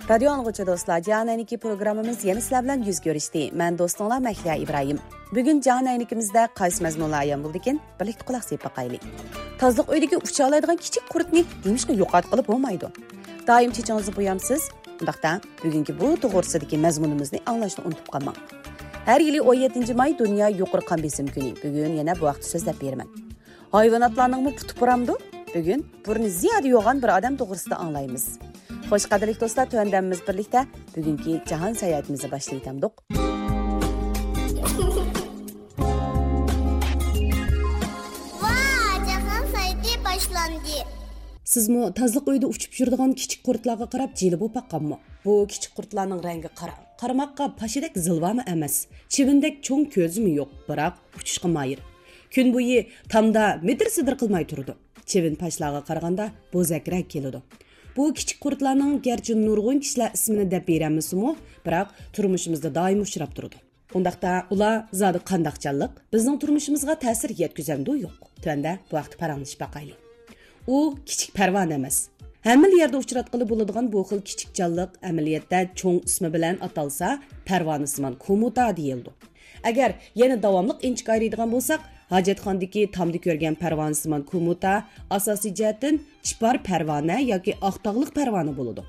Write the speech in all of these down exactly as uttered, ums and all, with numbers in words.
رادىيو ئاڭلىغۇچى دوستلار، جاھان ئەينىكى پروگراممىمىز يەنە سىلەر بىلەن يۈز كۆرۈشتى. مەن دوستۇڭلار مەھلىيا ئىبراھىم. بۈگۈن جاھان ئەينىكىمىزدە قايسى مەزمۇنلار ئايان بولىدىكىن؟ بىرلىكتە قۇلاق سېلىپ باقايلى. تازىلىق ئۆيىدىكى ئۇچالايدىغان كىچىك قۇرتنى نېمىشقا يوقاتقىلى بولمايدۇ؟ دائىم چېچىڭىزنى بويامسىز؟ ئۇنداقتا، بۈگۈنكى بۇ توغرىسىدىكى مەزمۇنىمىزنى ئاڭلاشنى ئۇنتۇپ قالماڭ. ھەر يىلى ئون يەتتىنچى ماي دۇنيا يۇقىرى قان بېسىم كۈنى. بۈگۈن يەنە بۇ ھەقتە سۆزلەپ بېرىمەن. ھايۋاناتلارنىڭمۇ پۇتى پۇرامدۇ؟ بۈگۈن بۇرنى زىيادە يوغان بىر ئادەم توغرىسىدا ئاڭلايمىز. خوش، قەدىرلىك دوستلار، تۆۋەندە ھەممىمىز بىرلىكتە بۈگۈنكى جاھان ساياھىتىمىزنى باشلاۋېتەمدۇق. ۋا، جاھان ساياھىتى باشلاندى. سىزمۇ تازىلىق ئۆيىدە ئۇچۇپ يۈرىدىغان كىچىك قۇرتلارغا قاراپ جىلە بولۇپ باققانمۇ؟ بۇ كىچىك قۇرتلارنىڭ رەڭگى قاراڭ. قارىماققا پاشىدەك زىلۋامۇ ئەمەس. چىۋىندەك چوڭ كۆزىمۇ يوق، بىراق ئۇچۇشقا ماھىر. كۈن بويى تامدا مىدىر-سىدىر قىلماي تۇرىدۇ. چىۋىن پاشىلارغا قارىغاندا بوزەكرەك كېلىدۇ. بۇ كىچىك قۇرتلارنىڭ گەرچە نۇرغۇن كىشىلەر ئىسمىنى دەپ بېرەلمىسىمۇ، بىراق تۇرمۇشىمىزدا دائىم ئۇچراپ تۇرىدۇ. ئۇنداقتا ئۇلار زادى قانداق جانلىق؟ بىزنىڭ تۇرمۇشىمىزغا تەسىر يەتكۈزەمدۇ، يوق؟ تۆۋەندە بۇ ھەقتە پاراڭلىشىپ باقايلى. ئۇ كىچىك پەرۋانە ئەمەس. ھەممىلا يەردە ئۇچراتقىلى بولىدىغان بۇ خىل كىچىك جانلىق ئەمەلىيەتتە چوڭ ئىسمى بىلەن ئاتالسا، پەرۋانىسىمان كومۇتا دېيىلىدۇ. ئەگەر يەنە داۋاملىق ئىنچىكە ئايرىيدىغان بولساق، ھاجەتخانىدىكى تامدا كۆرگەن پەرۋانىسىمان كومۇتا ئاساسىي جەھەتتىن چىپار پەرۋانە ياكى ئاق تاغلىق پەرۋانە بولىدۇ.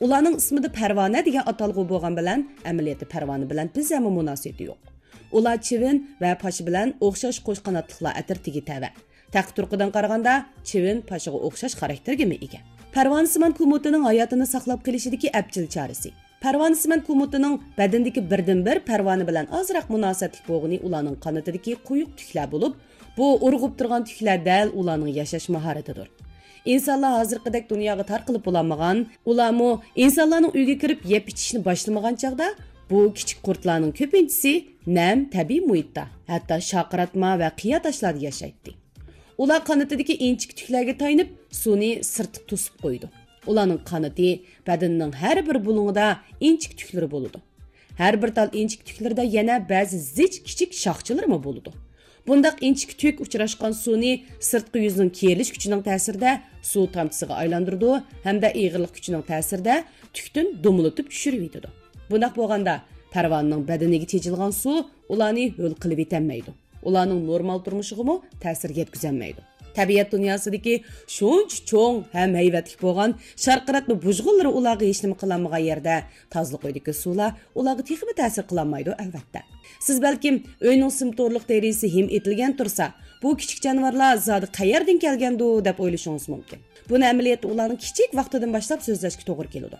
ئۇلارنىڭ ئىسمىدا پەرۋانە دېگەن ئاتالغۇ بولغان بىلەن، ئەمەلىيەتتە پەرۋانە بىلەن بىر زەررىمۇ مۇناسىۋىتى يوق. ئۇلار چىۋىن ۋە پاشا بىلەن ئوخشاش قوش قاناتلىقلار ئەترىتىگە تەۋە. تەقى تۇرقىدىن قارىغاندا، چىۋىن پاشىغا ئوخشاش خاراكتېرگىمۇ ئىگە. پەرۋانىسىمان كومۇتىنىڭ ھاياتىنى ساقلاپ قېلىشىدىكى ئەپچىل چارىسى. پەرۋانىسمان كومۇتىنىڭ بەدىنىدىكى بىردىنبىر پەرۋانە بىلەن ئازراق مۇناسىۋەتلىك بولغىنى ئۇلارنىڭ قانىتىدىكى قويۇق تۈكلەر بولۇپ، بۇ ئۇرغۇپ تۇرغان تۈكلەر دەل ئۇلارنىڭ ياشاش ماھارىتىدۇر. ئىنسانلار ھازىرقىدەك دۇنياغا تارقىلىپ بولالمىغان، ئۇلارمۇ ئىنسانلارنىڭ ئۆيىگە كىرىپ يەپ ئىچىشنى باشلىمىغان چاغدا، بۇ كىچىك قۇرتلارنىڭ كۆپىنچىسى نەم، تەبىئىي مۇھىتتا، ھەتتا شارقىراتما ۋە قىيا تاشلاردا ياشايتتى. ئۇلار قانىتىدىكى ئىنچىكە تۈكلەرگە تايىنىپ، سۇنى سىرتقا توسۇپ قويىدۇ. ئۇلارنىڭ قانىتى بەدىنىنىڭ ھەر بىر بۇلۇڭىدا ئىنچىكە تۈكلىرى بولىدۇ. ھەر بىر تال ئىنچىكە تۈكلىرىدە يەنە بەزى زىچ كىچىك شاخچىلىرىمۇ بولىدۇ. بۇنداق ئىنچىكە تۈك ئۇچراشقان سۇنى سىرتقى يۈزنىڭ كېرىلىش كۈچىنىڭ تەسىرىدە سۇ تامچىسىغا ئايلاندۇرىدۇ ھەمدە ئېغىرلىق كۈچىنىڭ تەسىرىدە تۈكتىن دومىلىتىپ چۈشۈرۈۋېتىدۇ. بۇنداق بولغاندا، پەرۋانىنىڭ بەدىنىگە تېجىلغان سۇ ئۇلارنى ھۆل قىلىۋېتەلمەيدۇ. ئۇلارنىڭ نورمال تۇرمۇشىغىمۇ تەسىر يەتكۈزەلمەيدۇ. تەبىئەت دۇنياسىدىكى شۇنچە چوڭ ھەم ھەيۋەتلىك بولغان شارقىراتما بۇژغۇنلىرى ئۇلارغا ھېچنېمە قىلالمىغان يەردە، تازىلىق ئۆيدىكى سۇلار ئۇلارغا تېخىمۇ تەسىر قىلالمايدۇ، ئەلۋەتتە. سىز بەلكىم، ئۆينىڭ سىم تورلۇق دېرىزىسى ھىم ئېتىلگەن تۇرسا، بۇ كىچىك جانىۋارلار زادى قەيەردىن كەلگەندۇ، دەپ ئويلىشىڭىز مۇمكىن. بۇنى ئەمەلىيەتتە ئۇلارنىڭ كىچىك ۋاقتىدىن باشلاپ سۆزلەشكە توغرا كېلىدۇ.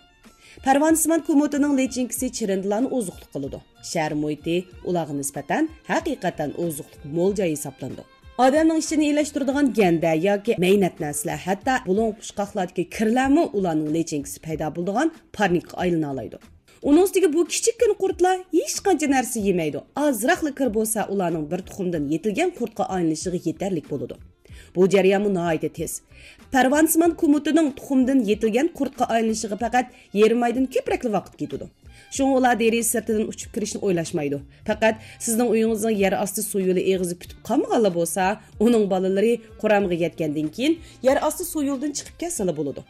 پەرۋانىسىمان كومۇتىنىڭ لىچىنكىسى چىرىندىلارنى ئوزۇقلۇق قىلىدۇ. شەھەر مۇھىتى ئۇلارغا نىسبەتەن ھەقىقەتەن ئوزۇقلۇق مول جاي ھېسابلىنىدۇ. ئادەمنىڭ ئىچىنى ئىلەشتۈرىدىغان گەندە ياكى مەينەت نەرسىلەر، ھەتتا بۇلۇڭ پۇچقاقلاردىكى كىرلەرمۇ ئۇلارنىڭ لىچىنكىسى پەيدا بولىدىغان پارنىكقا ئايلىنالايدۇ. ئۇنىڭ ئۈستىگە بۇ كىچىككىنە قۇرتلار ھېچقانچە نەرسە يېمەيدۇ. ئازراقلا كىر بولسا ئۇلارنىڭ بىر تۇخۇمدىن يېتىلگەن قۇرتقا ئايلىنىشىغا يېتەرلىك بولىدۇ. بۇ جەريانمۇ ناھايىتى تېز. پەرۋانىسىمان كومۇتىنىڭ تۇخۇمدىن يېتىلگەن قۇرتقا ئايلىنىشىغا پەقەت يېرىم ئايدىن كۆپرەكلا ۋاقىت كېتىدۇ. شۇڭا ئۇلار دېرىزە سىرتىدىن ئۇچۇپ كىرىشنى ئويلاشمايدۇ. پەقەت سىزنىڭ ئۆيىڭىزنىڭ يەر ئاستى سۇ يولى ئېغىزى پۈتۈپ قالمىغانلا بولسا، ئۇنىڭ بالىلىرى قۇرامىغا يەتكەندىن كېيىن يەر ئاستى سۇ يولىدىن چىقىپ كەتسىلا بولىدۇ.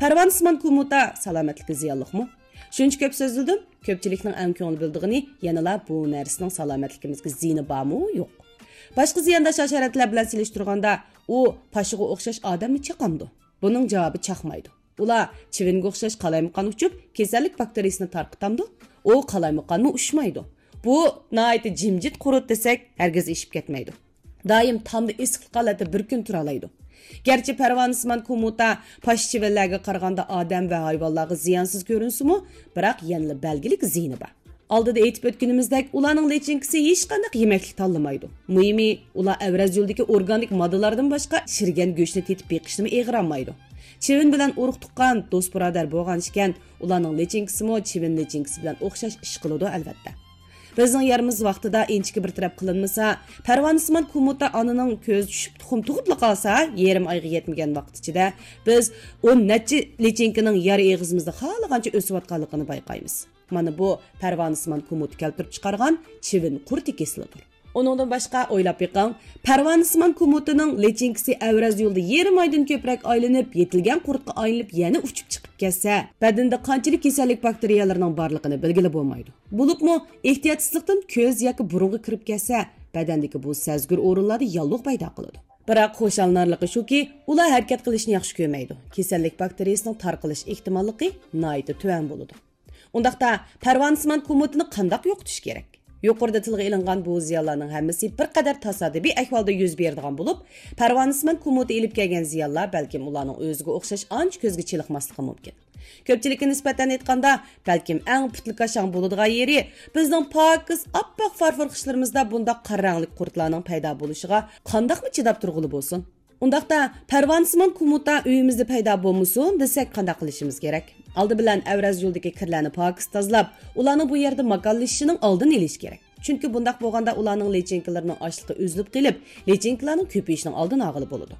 پەرۋانىسىمان كومۇتا سالامەتلىككە زىيانلىقمۇ؟ شۇنچە كۆپ سۆزلىدىم، كۆپچىلىكنىڭ ئەڭ كۆڭۈل بۆلىدىغىنى يەنىلا بۇ نەرسىنىڭ سالامەتلىكىمىزگە زىيىنى بارمۇ، يوق؟ باشقا زىيانداش ھاشاراتلار بىلەن سېلىشتۇرغاندا، ئۇ پاشىغا ئوخشاش ئادەممۇ چاقامدۇ؟ بۇنىڭ جاۋابى چاقمايدۇ. ئۇلار چىۋىنگە ئوخشاش قالايمىقان ئۇچۇپ، كېسەللىك باكتېرىيىسىنى تارقىتامدۇ؟ ئۇ قالايمىقانمۇ ئۇچمايدۇ. بۇ ناھايىتى جىمجىت قۇرت دېسەك، ھەرگىز ئېشىپ كەتمەيدۇ. دائىم تامدا ئېسىقلىق ھالەتتە بىر كۈن تۇرالايدۇ. گەرچە پەرۋانىسىمان كومۇتا پاشا چىۋىنلەرگە قارىغاندا ئادەم ۋە ھايۋانلارغا زىيانسىز كۆرۈنسىمۇ، بىراق يەنىلا بەلگىلىك زىيىنى بار. ئالدىدا ئېيتىپ ئۆتكىنىمىزدەك، ئۇلارنىڭ لىچىنكىسى ھېچقانداق يېمەكلىك تاللىمايدۇ. مۇھىمى، ئۇلار ئەۋرەز يولىدىكى ئورگانىك ماددىلاردىن باشقا شىرگەن گۆشنى تېتىپ بېقىشنىمۇ ئېغىرالمايدۇ. چىۋىن بىلەن ئۇرۇق تۇغقان، دوست بۇرادەر بولغان ئىكەن، ئۇلارنىڭ لىچىنكىسىمۇ چىۋىن لىچىنكىسى بىلەن ئوخشاش ئىش قىلىدۇ، ئەلۋەتتە. بىزنىڭ يەرىمىز ۋاقتىدا ئىنچىكە بىر تەرەپ قىلىنمىسا، پەرۋانىسىمان كومۇتا ئانىنىڭ كۆزى چۈشۈپ تۇخۇم تۇغۇپلا قالسا، يېرىم ئايغا يەتمىگەن ۋاقىت ئىچىدە بىز ئون نەچچە لىچىنكىنىڭ يار ئېغىزىمىزدا خالىغانچە ئۆسۈۋاتقانلىقىنى بايقايمىز. مانا بۇ پەرۋانىسىمان كومۇتا كەلتۈرۈپ چىقارغان چىۋىن قۇرتى كېسىلىدۇر. ئۇنىڭدىن باشقا ئويلاپ بېقىڭ، پەرۋانىسىمان كومۇتىنىڭ لىچىنكىسى ئەۋرەز يولىدا يېرىم ئايدىن كۆپرەك ئايلىنىپ، يېتىلگەن قۇرتقا ئايلىنىپ، يەنە ئۇچۇپ چىقىپ كەتسە، بەدىنىدە قانچىلىك كېسەللىك باكتېرىيەلىرىنىڭ بارلىقىنى بىلگىلى بولمايدۇ. بولۇپمۇ ئېھتىياتسىزلىقتىن كۆز ياكى بۇرۇنغا كىرىپ كەتسە، بەدەندىكى بۇ سەزگۈر ئورۇنلاردا ياللۇغ پەيدا قىلىدۇ. بىراق خۇشاللىنارلىقى شۇكى، ئۇلار ھەرىكەت قىلىشنى ياخشى كۆرمەيدۇ. كېسەللىك باكتېرىيىسىنىڭ تارقىلىش ئېھتىماللىقى ناھايىتى تۆۋەن بولىدۇ. ئۇنداقتا، پەرۋانىسىمان كومۇتىنى قانداق يوقىتىش كېرەك؟ يۇقىرىدا تىلغا ئېلىنغان بۇ زىيانلارنىڭ ھەممىسى بىر قەدەر تاسادىپىي ئەھۋالدا يۈز بېرىدىغان بولۇپ، پەرۋانىسمان كومۇتى ئېلىپ كەلگەن زىيانلار بەلكىم ئۇلارنىڭ ئۆزىگە ئوخشاش ئانچە كۆزگە چېلىقماسلىقى مۇمكىن. كۆپچىلىككە نىسبەتەن ئېيتقاندا، بەلكىم ئەڭ پۇتلىكاشاڭ بولىدىغان يېرى، بىزنىڭ پاكىز ئاپئاق فارفور قىشلىرىمىزدا بۇنداق قارا رەڭلىك قۇرتلارنىڭ پەيدا بولۇشىغا قانداقمۇ چىداپ تۇرغىلى بولسۇن؟ ئۇنداقتا، پەرۋانىسىمان كومۇتا ئۆيىمىزدە پەيدا بولمىسۇن دېسەك، قانداق قىلىشىمىز كېرەك؟ ئالدى بىلەن ئەۋرەز يولىدىكى كىرلەرنى پاكىز تازىلاپ، ئۇلارنىڭ بۇ يەردە ماكانلىشىشىنىڭ ئالدىنى ئېلىش كېرەك. چۈنكى بۇنداق بولغاندا ئۇلارنىڭ لىچىنكىلىرىنىڭ ئاشلىقى ئۈزۈلۈپ قېلىپ، لىچىنكىلارنىڭ كۆپىيىشىنىڭ ئالدىنى ئالغىلى بولىدۇ.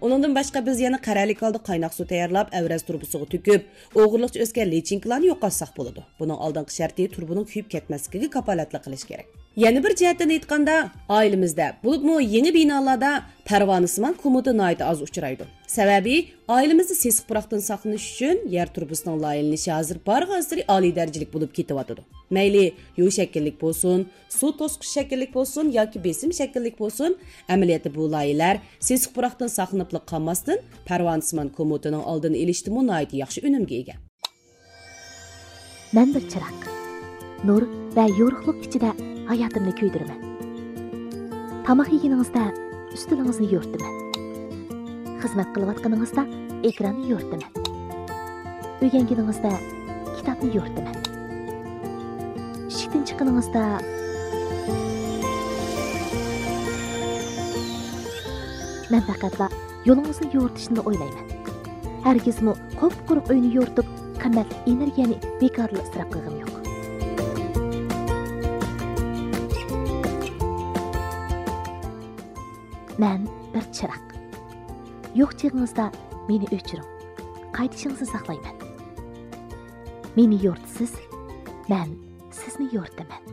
ئۇنىڭدىن باشقا بىز يەنە قەرەلىك ھالدا قايناق سۇ تەييارلاپ، ئەۋرەز تۇرۇبىسىغا تۆكۈپ، ئوغرىلىقچە ئۆسكەن لىچىنكىلارنى يوقاتساق بولىدۇ. بۇنىڭ ئالدىنقى شەرتى تۇرۇبىنىڭ كۆيۈپ كەتمەسلىكىگە كاپالەتلىك قىلىش كېرەك. يەنە بىر جەھەتتىن ئېيتقاندا، ئائىلىمىزدە، بولۇپمۇ يېڭى بىنالاردا پەرۋانىسىمان كومۇتا ناھايىتى ئاز ئۇچرايدۇ. سەۋەبى، ئائىلىمىزدە سېسىق پۇراقتىن ساقلىنىش ئۈچۈن يەر تۇرۇبىسىنىڭ لايىھەلىنىشى ھازىر بارغانسېرى ئالىي دەرىجىلىك بولۇپ كېتىۋاتىدۇ. مەيلى يۇ شەكىللىك بولسۇن، سۇ توسقۇچ شەكىللىك بولسۇن ياكى بېسىم شەكىللىك بولسۇن، ئەمەلىيەتتە بۇ لايىھەلەر سېسىق پۇراقتىن ساقلىنىپلا قالماستىن، پەرۋانىسىمان كومۇتىنىڭ ئالدىنى ئېلىشتىمۇ ناھايىتى ياخشى ئۈنۈمگە ئىگە. مەن بىر چىراغ. نۇر ۋە يورۇقلۇق ئىچىدە ھاياتىمنى كۆيدۈرىمەن. تاماق يېگىنىڭىزدە ئۈستىلىڭىزنى يورۇتىمەن. خىزمەت قىلىۋاتقىنىڭىزدا ئېكراننى يورۇتىمەن. ئۆگەنگىنىڭىزدە كىتابنى يورۇتىمەن. ئىشىكتىن چىققىنىڭىزدا مەن پەقەتلا يولىڭىزنى يورۇتۇشنىلا ئويلايمەن. ھەرگىزمۇ قۇپقۇرۇق ئۆينى يورۇتۇپ، قىممەتلىك ئېنېرگىيەنى بىكارلا ئىسراپ قىلغىنىم يوق. مەن بىر چىراغ. يوق چېغىڭىزدا مېنى ئۆچۈرۈڭ. قايتىشىڭىزنى ساقلايمەن. مېنى يورۇتىسىز، مەن سىزنى يورۇتىمەن.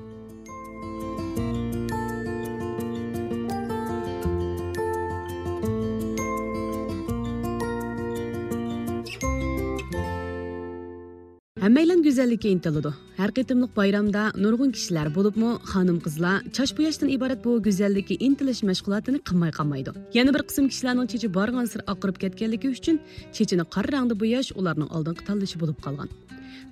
ھەممەيلەن گۈزەللىككە ئىنتىلىدۇ. ھەر قېتىملىق بايرامدا نۇرغۇن كىشىلەر، بولۇپمۇ خانىم-قىزلار، چاچ بوياشتىن ئىبارەت بۇ گۈزەللىككە ئىنتىلىش مەشغۇلاتىنى قىلماي قالمايدۇ. يەنە بىر قىسىم كىشىلەرنىڭ چېچى بارغانسېرى ئاقىرىپ كەتكەنلىكى ئۈچۈن، چېچىنى قارا رەڭدە بوياش ئۇلارنىڭ ئالدىنقى تاللىشى بولۇپ قالغان.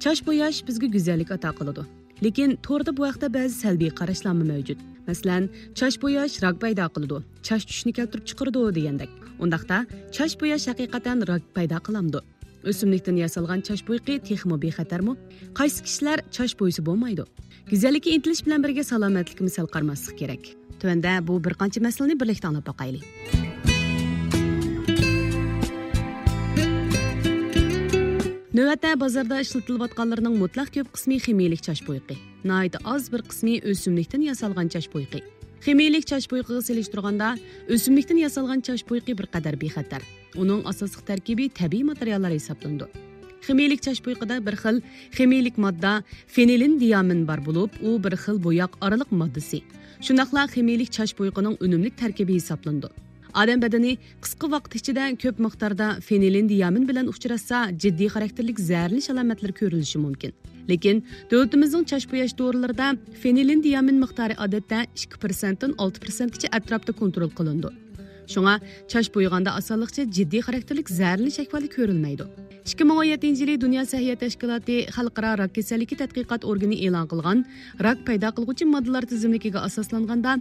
چاچ بوياش بىزگە گۈزەللىك ئاتا قىلىدۇ. لېكىن توردا بۇ ھەقتە بەزى سەلبىي قاراشلارمۇ مەۋجۇت. مەسىلەن، چاچ بوياش راك پەيدا قىلىدۇ، چاچ چۈشۈشنى كەلتۈرۈپ چىقىرىدۇ دېگەندەك. ئۇنداقتا، چاچ بوياش ھەقىقەتەن راك پەيدا قىلامدۇ؟ ئۆسۈملۈكتىن ياسالغان چاچ بويىقى تېخىمۇ بىخەتەرمۇ؟ قايسى كىشىلەر چاچ بويىسا بولمايدۇ؟ گۈزەللىككە ئىنتىلىش بىلەن بىرگە سالامەتلىكىمۇ سەل قارىماسلىق كېرەك. تۆۋەندە بۇ بىر قانچە مەسىلىنى بىرلىكتە ئاڭلاپ باقايلى. نۆۋەتتە بازاردا ئىشلىتىلىۋاتقانلىرىنىڭ مۇتلەق كۆپ قىسمى خىمىيىلىك چاچ بويىقى. ناھايىتى ئاز بىر قىسمى ئۆسۈملۈكتىن ياسالغان چاچ بويىقى. خىمىيىلىك چاچ بويىقىغا سېلىشتۇرغاندا، ئۆسۈملۈكتىن ياسالغان چاچ بويىقى بىر قەدەر بىخەتەر. ئۇنىڭ ئاساسلىق تەركىبى تەبىئىي ماتېرىياللار ھېسابلىنىدۇ. خىمىيىلىك چاچ بويىقىدا بىر خىل خىمىيىلىك ماددا فېنىلىن دىيامىن بار بولۇپ، ئۇ بىر خىل بوياق ئارىلىق ماددىسى. شۇنداقلا خىمىيىلىك چاچ بويىقىنىڭ ئۈنۈملۈك تەركىبى ھېسابلىنىدۇ. ئادەم بەدىنى قىسقا ۋاقىت ئىچىدە كۆپ مىقداردا فېنىلين دىيامىن بىلەن ئۇچراشسا، جىددىي خاراكتېرلىك زەھەرلىنىش ئالامەتلىرى كۆرۈلۈشى مۇمكىن. لېكىن دۆلىتىمىزنىڭ چاچ بوياش دورىلىرىدا فېنىلين دىيامىن مىقدارى ئادەتتە ئىككى پىرسەنتتىن ئالتە پىرسەنتكىچە ئەتراپتا كونترول قىلىنىدۇ. شۇڭا چاچ بويىغاندا ئاسانلىقچە جىددىي خاراكتېرلىك زەھەرلىنىش ئەھۋالى كۆرۈلمەيدۇ. ئىككى مىڭ ئون يەتتىنچى يىلى دۇنيا سەھىيە تەشكىلاتى خەلقئارا راك كېسەللىكى تەتقىقات ئورگىنى ئېلان قىلغان راك پەيدا قىلغۇچى ماددىلار تىزىملىكىگە ئاساسلانغاندا،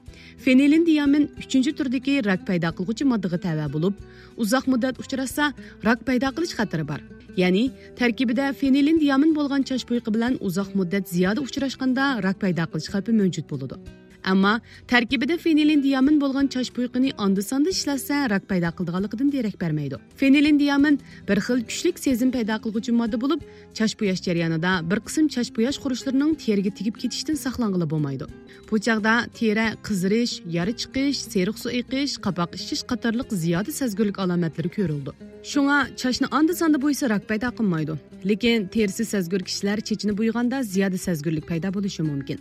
فېنىلين دىيامىن ئۈچىنچى تۈردىكى راك پەيدا قىلغۇچى ماددىغا تەۋە بولۇپ، ئۇزاق مۇددەت ئۇچراشسا، راك پەيدا قىلىش خەتىرى بار. يەنى، تەركىبىدە فېنىلين دىيامىن بولغان چاچ بويىقى بىلەن ئۇزاق مۇددەت زىيادە ئۇچراشقاندا راك پەيدا قىلىش خەۋپى مەۋجۇت بولىدۇ. ئەمما تەركىبىدە فېنىلين دىيامىن بولغان چاچ بويىقىنى ئاندا-ساندا ئىشلەتسە، راك پەيدا قىلىدىغانلىقىدىن دېرەك بەرمەيدۇ. فېنىلين دىيامىن بىر خىل كۈچلۈك سېزىم پەيدا قىلغۇچى ماددا بولۇپ، چاچ بوياش جەريانىدا بىر قىسىم چاچ بوياش خۇرۇچلىرىنىڭ تېرىگە تېگىپ كېتىشتىن ساقلانغىلى بولمايدۇ. بۇ چاغدا تېرە قىزىرىش، يارا چىقىش، سېرىق سۇ ئېقىش، قاپاق ئىششىش قاتارلىق زىيادە سەزگۈرلۈك ئالامەتلىرى كۆرۈلىدۇ. شۇڭا چاچنى ئاندا-ساندا بويىسا راك پەيدا قىلمايدۇ. لېكىن تېرىسى سەزگۈر كىشىلەر چېچىنى بويىغاندا زىيادە سەزگۈرلۈك پەيدا بولۇشى مۇمكىن.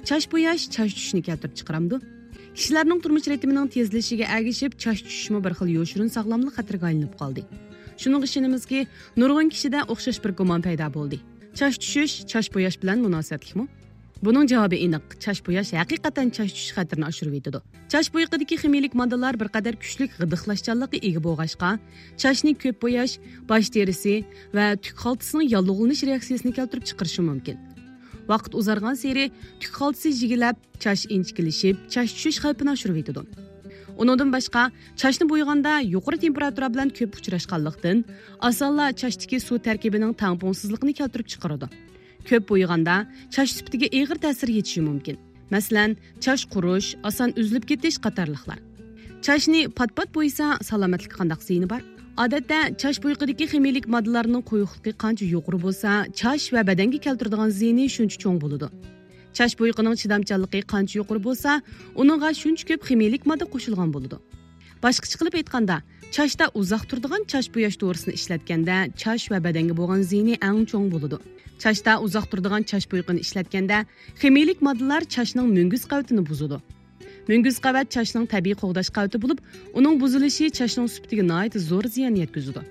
چاچ بوياش چاچ چۈشۈشنى كەلتۈرۈپ چىقىرامدۇ؟ كىشىلەرنىڭ تۇرمۇش رىتىمىنىڭ تېزلىشىگە ئەگىشىپ، چاچ چۈشۈشمۇ بىر خىل يوشۇرۇن ساغلاملىق خەتىرىگە ئايلىنىپ قالدى. شۇنىڭغا ئىشىنىمىزكى، نۇرغۇن كىشىدە ئوخشاش بىر گۇمان پەيدا بولدى. چاچ چۈشۈش چاچ بوياش بىلەن مۇناسىۋەتلىكمۇ؟ بۇنىڭ جاۋابى ئېنىق، چاچ بوياش ھەقىقەتەن چاچ چۈشۈش خەتىرىنى ئاشۇرۇۋېتىدۇ. چاچ بويىقىدىكى خىمىيىلىك ماددىلار بىر قەدەر كۈچلۈك غىدىقلاشچانلىققا ئىگە بولغاچقا، چاچنى كۆپ بوياش باش تېرىسى ۋە تۈك خالتىسىنىڭ ياللۇغلىنىش رېئاكسىيەسىنى كەلتۈرۈپ چىقىرىشى مۇمكىن. ۋاقىت ئۇزارغانسېرى تۈك خالتىسى يىگلەپ، چاچ ئىنچىكىلىشىپ، چاچ چۈشۈش خەۋپىنى ئاشۇرۇۋېتىدۇ. ئۇنىڭدىن باشقا، چاچنى بويىغاندا يۇقىرى تېمپېراتۇرا بىلەن كۆپ ئۇچراشقانلىقتىن، ئاسانلا چاچتىكى سۇ تەركىبىنىڭ تەڭپۇڭسىزلىقىنى كەلتۈرۈپ چىقىرىدۇ. كۆپ بويىغاندا چاچ سۈپىتىگە ئېغىر تەسىر يېتىشى مۇمكىن. مەسىلەن، چاچ قۇرۇش، ئاسان ئۈزۈلۈپ كېتىش قاتارلىقلار. چاچنى پات-پات بويىسا، سالامەتلىككە قانداق زىيىنى بار؟ ئادەتتە، چاچ بويىقىدىكى خىمىيىلىك ماددىلارنىڭ قويۇقلۇقى قانچە يۇقىرى بولسا، چاچ ۋە بەدەنگە كەلتۈرىدىغان زىيىنى شۇنچە چوڭ بولىدۇ. چاچ بويىقىنىڭ چىدامچانلىقى قانچە يۇقىرى بولسا، ئۇنىڭغا شۇنچە كۆپ خىمىيىلىك ماددا قوشۇلغان بولىدۇ. باشقىچە قىلىپ ئېيتقاندا، چاچتا ئۇزاق تۇرىدىغان چاچ بوياش دورىسىنى ئىشلەتكەندە، چاچ ۋە بەدەنگە بولغان زىيىنى ئەڭ چوڭ بولىدۇ. چاچتا ئۇزاق تۇرىدىغان چاچ بويىقىنى ئىشلەتكەندە، خىمىيىلىك ماددىلار چاچنىڭ مۈڭگۈز قەۋىتىنى بۇزىدۇ. مۈڭگۈز قەۋەت چاچنىڭ تەبىئىي قوغداش قەۋىتى بولۇپ، ئۇنىڭ بۇزۇلۇشى چاچنىڭ سۈپىتىگە ناھايىتى زور زىيان يەتكۈزىدۇ.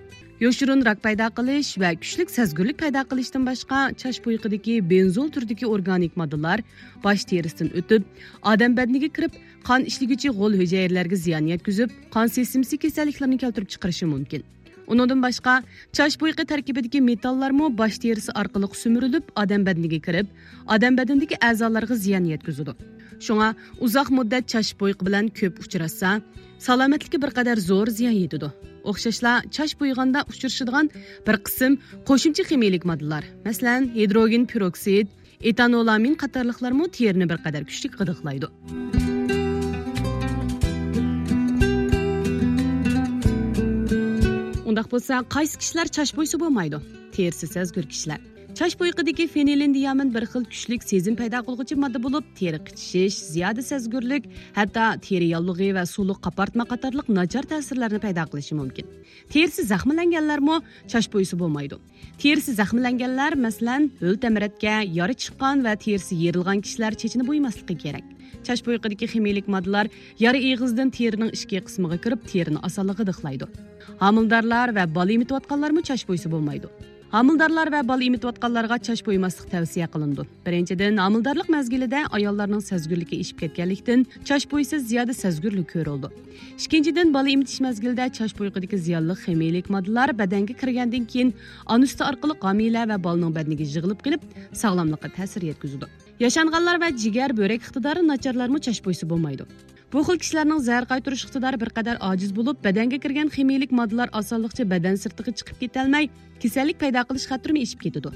يوشۇرۇن راك پەيدا قىلىش ۋە كۈچلۈك سەزگۈرلۈك پەيدا قىلىشتىن باشقا، چاچ بويىقىدىكى بېنزول تۈرىدىكى ئورگانىك ماددىلار باش تېرىسىدىن ئۆتۈپ، ئادەم بەدىنىگە كىرىپ، قان ئىشلىگۈچى غول ھۈجەيرىلەرگە زىيان يەتكۈزۈپ، قان سىستېمىسى كېسەللىكلىرىنى كەلتۈرۈپ چىقىرىشى مۇمكىن. ئۇنىڭدىن باشقا، چاچ بويىقى تەركىبىدىكى مېتاللارمۇ باش تېرىسى ئارقىلىق سۈمۈرۈلۈپ، ئادەم بەدىنىگە كىرىپ، ئادەم بەدىنىدىكى ئەزالارغا زىيان يەتكۈزىدۇ. شۇڭا ئۇزاق مۇددەت چاچ بويىقى بىلەن كۆپ ئۇچراشسا، سالامەتلىككە بىر قەدەر زور زىيان يېتىدۇ. ئوخشاشلا، چاچ بويىغاندا ئۇچرىشىدىغان بىر قىسىم قوشۇمچە خىمىيىلىك ماددىلار، مەسىلەن، ھىدروگېن پېروكسىد، ئېتانولامىن قاتارلىقلارمۇ تېرىنى بىر قەدەر كۈچلۈك غىدىقلايدۇ. ئۇنداق بولسا، قايسى كىشىلەر چاچ بويىسا بولمايدۇ؟ تېرىسى سەزگۈر كىشىلەر. چاچ بويىقىدىكى فېنىلېندىيامىن بىر خىل كۈچلۈك سېزىم پەيدا قىلغۇچى ماددا بولۇپ، تېرە قىچىشىش، زىيادە سەزگۈرلۈك، ھەتتا تېرە ياللۇغى ۋە سۇلۇق قاپارتما قاتارلىق ناچار تەسىرلەرنى پەيدا قىلىشى مۇمكىن. تېرىسى زەخىملەنگەنلەرمۇ چاچ بويىسا بولمايدۇ. تېرىسى زەخىملەنگەنلەر، مەسىلەن، ھۆل تەمرەتكە، يارا چىققان ۋە تېرىسى يېرىلغان كىشىلەر چېچىنى بويىماسلىقى كېرەك. چاچ بويىقىدىكى خىمىيىلىك ماددىلار يارا ئېغىزىدىن تېرىنىڭ ئىچكى قىسمىغا كىرىپ، تېرىنى ئاسانلا غىدىقلايدۇ. ھامىلىدارلار ۋە بالا ئېمىتىۋاتقانلارمۇ چاچ بويىسا بولمايدۇ. ھامىلىدارلار ۋە بالا ئېمىتىۋاتقانلارغا چاچ بويىماسلىق تەۋسىيە قىلىنىدۇ. بىرىنچىدىن، ھامىلىدارلىق مەزگىلىدە ئاياللارنىڭ سەزگۈرلۈكى ئېشىپ كەتكەنلىكتىن، چاچ بويىسا زىيادە سەزگۈرلۈك كۆرۈلىدۇ. ئىككىنچىدىن، بالا ئېمىتىش مەزگىلىدە چاچ بويىقىدىكى زىيانلىق خىمىيىلىك ماددىلار بەدەنگە كىرگەندىن كېيىن، ئانا سۈتى ئارقىلىق ھامىلە ۋە بالىنىڭ بەدىنىگە يىغىلىپ قېلىپ، ساغلاملىققا تەسىر يەتكۈزىدۇ. ياشانغانلار ۋە جىگەر، بۆرەك ئىقتىدارى ناچارلارمۇ چاچ بويىسا بولمايدۇ. بۇ خىل كىشىلەرنىڭ زەھەر قايتۇرۇش ئىقتىدارى بىر قەدەر ئاجىز بولۇپ، بەدەنگە كىرگەن خىمىيىلىك ماددىلار ئاسانلىقچە بەدەن سىرتىغا چىقىپ كېتەلمەي، كېسەللىك پەيدا قىلىش خەتىرىمۇ ئېشىپ كېتىدۇ.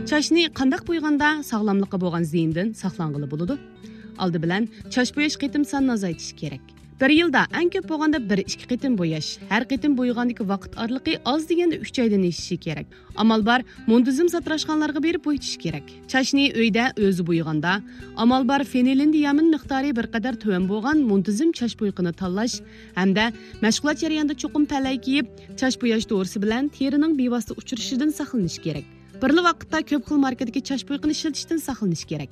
چاچنى قانداق بويىغاندا ساغلاملىققا بولغان زىيىندىن ساقلانغىلى بولىدۇ؟ ئالدى بىلەن، چاچ بوياش قېتىم سانىنى ئازايتىش كېرەك. بىر يىلدا ئەڭ كۆپ بولغاندا بىر ئىككى قېتىم بوياش، ھەر قېتىم بويىغاندىكى ۋاقىت ئارىلىقى ئاز دېگەندە ئۈچ ئايدىن ئېشىشى كېرەك. ئامال بار، مۇنتىزىم ساتىراشخانىلارغا بېرىپ بويىتىش كېرەك. چاچنى ئۆيدە ئۆزى بويىغاندا، ئامال بار، فېنىلېندىيامىن مىقدارى بىر قەدەر تۆۋەن بولغان مۇنتىزىم چاچ بويىقىنى تاللاش ھەمدە مەشغۇلات جەريانىدا چوقۇم پەلەي كىيىپ، چاچ بوياش دورىسى بىلەن تېرىنىڭ بىۋاسىتە ئۇچرىشىشىدىن ساقلىنىش كېرەك. بىرلا ۋاقىتتا كۆپ خىل ماركىدىكى چاچ بويىقىنى ئىشلىتىشتىن ساقلىنىش كېرەك.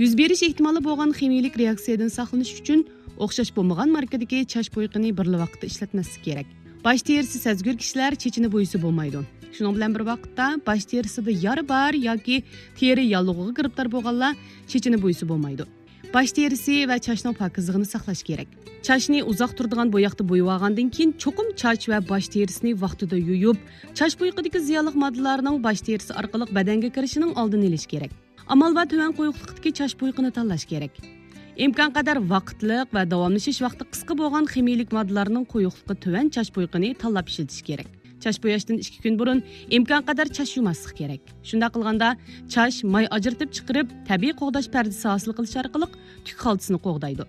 يۈز بېرىش ئېھتىمالى بولغان خىمىيىلىك رېئاكسىيەدىن ساقلىنىش ئۈچۈن ئوخشاش بولمىغان ماركىدىكى چاچ بويىقىنى بىرلا ۋاقىتتا ئىشلەتمەسلىك كېرەك. باش تېرىسى سەزگۈر كىشىلەر چېچىنى بويىسا بولمايدۇ. شۇنىڭ بىلەن بىر ۋاقىتتا، باش تېرىسىدا يارا بار ياكى تېرە ياللۇغىغا گىرىپتار بولغانلار چېچىنى بويىسا بولمايدۇ. باش تېرىسى ۋە چاچنىڭ پاكىزلىقىنى ساقلاش كېرەك. چاچنى ئۇزاق تۇرىدىغان بوياقتا بويىۋالغاندىن كېيىن، چوقۇم چاچ ۋە باش تېرىسىنى ۋاقتىدا يۇيۇپ، چاچ بويىقىدىكى زىيانلىق ماددىلارنىڭ باش تېرىسى ئارقىلىق بەدەنگە كىرىشىنىڭ ئالدىنى ئېلىش كېرەك. ئامال بار تۆۋەن قويۇقلۇقتىكى چاچ بويىقىنى تاللاش كېرەك. ئىمكان قەدەر ۋاقىتلىق ۋە داۋاملىشىش ۋاقتى قىسقا بولغان خىمىيىلىك ماددىلارنىڭ قويۇقلۇقى تۆۋەن چاچ بويىقىنى تاللاپ ئىشلىتىش كېرەك. چاچ بوياشتىن ئىككى كۈن بۇرۇن ئىمكان قەدەر چاچ يۇماسلىق كېرەك. شۇنداق قىلغاندا، چاچ ماي ئاجرىتىپ چىقىرىپ، تەبىئىي قوغداش پەردىسى ھاسىل قىلىش ئارقىلىق تۈك خالتىسىنى قوغدايدۇ.